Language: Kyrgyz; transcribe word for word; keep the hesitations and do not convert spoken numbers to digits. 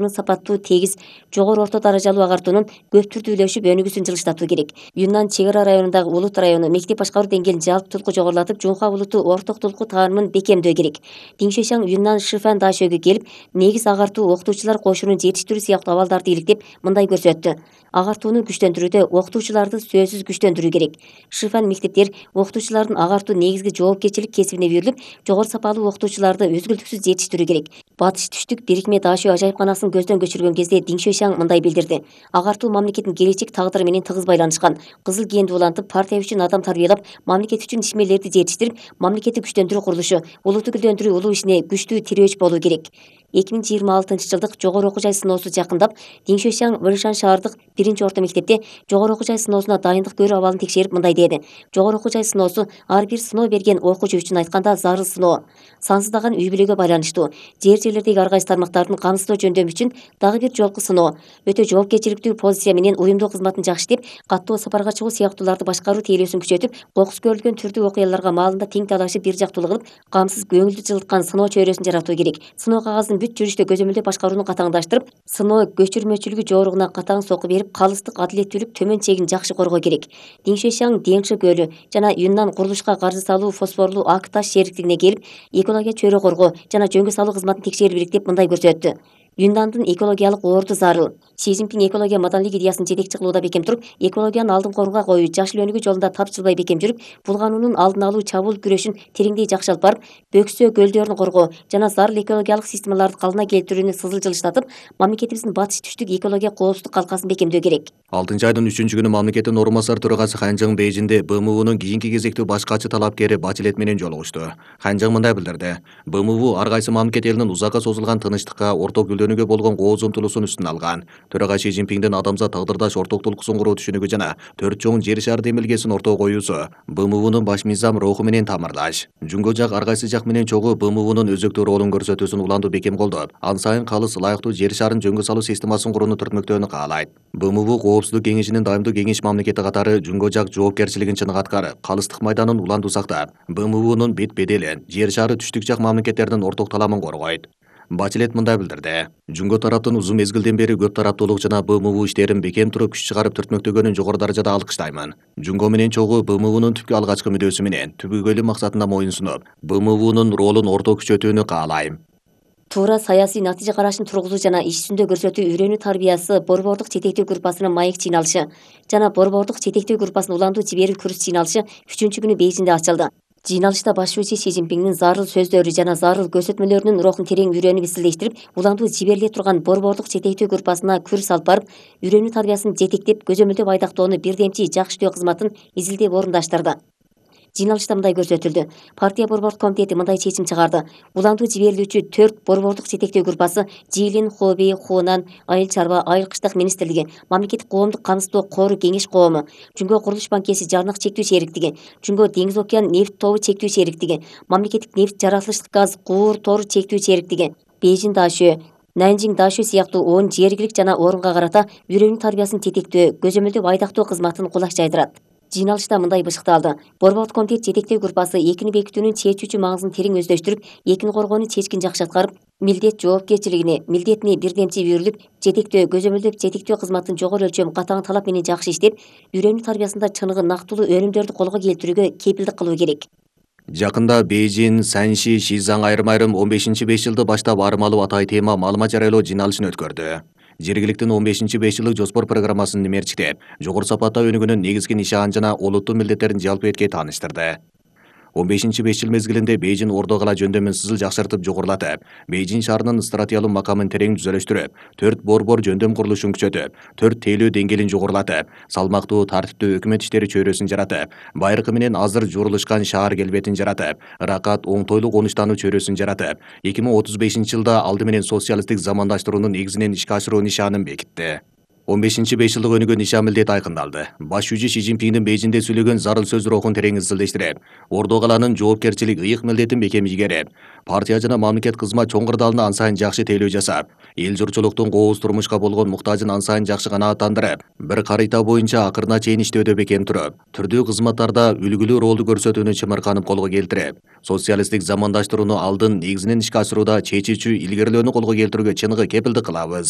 сапаттуу, тегиз, жогору орто даражалуу агартуунун көп түрдүү үлөшүп өнүгүүсүн жылыштатуу керек. Юннан чек ара районундагы Улут району мектеп башкаруу деңгээлин жалпы толуку жогорулатып, Жунха Улуту орток толуку таанымын бекемдөө керек. Диңшөйшаң Юннан Шифан Дашөөгө келип, негиз агартуу окутуучулар кошунун жетиштирүү сыяктуу абалдарды иликтеп, мындай көрсөттү. Агартууну күчтөндүрүүдө окутуучуларды сөзсүз күчтөндүрүү керек. Шифан мектептер окутуучулардын агартуу негизги жоопкерчилик кесибине үйрүлүп, жогору сапалуу окутуучуларды үзгүлтүксүз жетиштирүү керек. Батыш түштүк бирикме Дашөө ажайыпканасын көздөн көчүргөн кезде Диңшөйшаң мындай билдирди. Агартуу мамлекеттин келечек тагдыры менен тыгыз байланышкан. Кызыл кeenди улантып, партия үчүн адам тарбиялап, мамлекет үчүн ишмерлерди жетиштирип, мамлекетти күчтөндүрүү курулушу, улутту гүлдөндүрүү улуу ишине күчтүү тирөөч болуу керек. эки миң жыйырма алтынчы жылдык жогору окуу жай сыноосу жакындап, Диңшөйшаң Выршан шаардык биринчи орто мектепте жогору окуу жай сыноосуна дайындык көрүү абалын текшерип, мындай деди. Жогору окуу жай сыноосу ар бир сыноо берген окуучу үчүн айтканда зарыл сыноо. Сансыздаган үй бүлөгө байланыштуу. Жер жерлердеги ар кайсы тармактардын камсыздоо жөндөмү үчүн дагы бир жолку сыноо. Өтө жоопкерчиликтүү позиция менен уюмдуу кызматын жакшы иштеп, каттуу сапарга чыгуу сыяктууларды башкаруу тейлөөсүн күчөтүп, кокус көрүлгөн түрдүү окуяларга маалында тең талашып, бир жактуулуу кылып, камсыз көңүлдү жылыткан сыноо чөйрөсүн жаратуу керек. Сыноо кагаздын бүт жүрүштө көзөмөлдөө башкарууну катаңдаштырып, сыноо көчүрмөчүлүгү жооругуна катаң сокку берип, калыстык, адилеттүүлүк, төмөн чегин жакшы коргоо керек. Диңшөйшаң Деңши көлү жана Юннан курулушка каржы салуу фосфорлуу ак таш шериктигине келип, экология чөйрө коргоо жана жөнгө салуу кызматын текшерип элек деп мындай көрсөттү. Юндандын экологиялык орду зарыл. Си Цзиньпин экология маданилик идеясын жетекчи кылууда бекем туруп, экологияны алдыңкы орунга коюу, жашыл өнүгүү жолунда тапжылбай бекем жүрүп, булгануунун алдын алуу, чабуул күрөшүн тереңдей жакшы алып барып, бөксө көлдөрүн коргоо жана зарыл экологиялык системаларды калыбына келтирүүнү сызыл жылыштатып, мамлекетибиздин батыш түштүк экология коопсуздук калкасын бекемдөө керек. алтынчы айдын үчүнчү күнү мамлекеттин орун басар төрагасы Ханжың Бейжинде Б М Унун кийинки кезектүү баш катчы талапкери Бачелет менен жолугушту. Ханжың мындай билдирди. Б М У ар кайсы мамлекет элинин узакка созулган тынычтыкка, орток гүлдөнүүгө болгон кооз умтулуусун үстүнө алган. Төрага Си Цзиньпиндин адамзат тагдырдаш орток толкусун куруу түшүнүгү жана төрт чоң жер шаар демилгесин ортого коюусу Б М Унун баш мыйзам руху менен тамырдаш. Жунго жак ар кайсы жак менен чогуу Б М Унун өзөктүү ролун көрсөтүүсүн уланду бекем колдоп, ан сайын калыс ылайыктуу жер шаарын жөнгө салуу системасын курууну түртмөктөөнү каалайт. Б М У Коопсуздук кеңешинин дайымдуу кеңеш мамлекети катары жунго жак жоопкерчилигин чыныгы аткарып, калыстык майданын уланду сактап, Б М Унун бет беделин, жер шаары түштүк жак мамлекеттердин орток таламын коргойт. Бачелет мындай билдирди. Жунго тараптын узун мезгилден бери көп тараптуулук жана Б М У иштерин бекем туруп күч чыгарып түртмөктөгөнүн жогору даражада алкыштаймын. Жунго менен чогуу Б М Унун түпкү алгачкы мүдөөсү менен түбөгөйлүү максатына моюн сунуп, Б М Унун ролун орто күчөтүүнү каалайм. Туура саясий натыйжа карашын тургузуу жана иш жүзүндө көрсөтүү үйрөнүү тарбиясы борбордук жетектөө группасынын маек жыйналышы жана борбордук жетектөө группасынын уландуу жиберүү курс жыйналышы үчүнчү күнү Бейжинде ачылды. Жыйналышта башчысы Си Цзиньпиндин зарыл сөздөрү жана зарыл көрсөтмөлөрүнүн рухун терең үйрөнүп изилдештирип, уландуу жибериле турган борбордук жетектөө группасына курс алып барып, үйрөнүү тарбиясын жетектеп, көзөмөлдөп айдактоону бирдемчи жакшы иштөө кызматын изилдеп орундаштырды. Жыйналышта мындай көрсөтүлдү. Партия борбордук комитети мындай чечим чыгарды. Уландуу жиберилүүчү төрт борбордук жетектөө группасы Жиилин, Хобей, Хунан, Айыл чарба, Айыл кыштык министрлиги, Мамлекеттик коомдук камсыздоо кору кеңеш коому, Жунго курулуш банкеси жарнык чектүү шериктиги, Жунго деңиз океан нефть тобу чектүү шериктиги, Мамлекеттик нефть жаратылыштык газ куур тору чектүү шериктиги, Бейжин Дашөө, Нанжиң Дашөө сыяктуу он жергилик жана орунга карата үйрөнүү тарбиясын жетектөө, көзөмөлдөп айдактоо кызматын кулаш жайдырат. Жыйналышта мындай бышыкталды. Борбордук комитет жетектөө группасы экини бекитүүнүн чечүүчү маңызын терең өздөштүрүп, экини коргоону чечкин жакшы аткарып, милдет жоопкерчилигине, милдетине бирдемчи үйрүлүп, жетектөө, көзөмөлдөп жетектөө кызматын жогору өлчөм, катаң талап менен жакшы иштеп, үйрөнүү тарбиясында чыныгы нактылуу өнүмдөрдү колго келтирүүгө кепилдик кылуу керек. Жакында Бейжин, Санши, Шизаң айрым айрым он бешинчи беш жылды баштап армалуу атай тема маалымат жарыялоо жыйналышын өткөрдү. Жергиликтин он бешинчи беш жылдык жоспор программасын мерчиктеп, жогору сапатта өнүгүүнүн негизги нишанын жана олуттуу милдеттерин жалпы этке тааныштырды. он бешинчи беш жыл мезгилинде Бейжин ордо кала жөндөмүн сызыл жакшыртып жогорулатып, Бейжин шаарынын стратегиялык макамын терең түзөлүштүрүп, төрт борбор жөндөм курулушун күчөтүп, төрт тейлөө деңгээлин жогорулатып, салмактуу, тартиптүү өкмөт иштери чөйрөсүн жаратып, байыркы менен азыр журулушкан шаар келбетин жаратып, ыракат, оңтойлуу конуштануу чөйрөсүн жаратып, эки миң отуз бешинчи жылда алды менен социалисттик замандаштыруунун негизинен ишке ашыруу нишанын бекитти. он бешинчи беш жылдык өнүгүү нишан милдет айкындалды. Баш жүзү Си Цзиньпиндин Бейжинде сүйлөгөн зарыл сөз рухун терең изилдештирип, ордо каланын жоопкерчилик ыйык милдетин бекем ийгерип, партия жана мамлекет кызмат чоң кырдаалына ан сайын жакшы тейлөө жасап, эл журтчулуктун кооз турмушка болгон муктажын ан сайын жакшы канааттандырып, бир карыйта боюнча акырына чейин иштөөдө бекем туруп, түрдүү кызматтарда үлгүлүү ролду көрсөтүүнү чымырканып колго келтирип, социалисттик замандаштырууну алдын негизинен ишке ашырууда чечүүчү илгерилөөнү колго келтирүүгө чыныгы кепилдик кылабыз.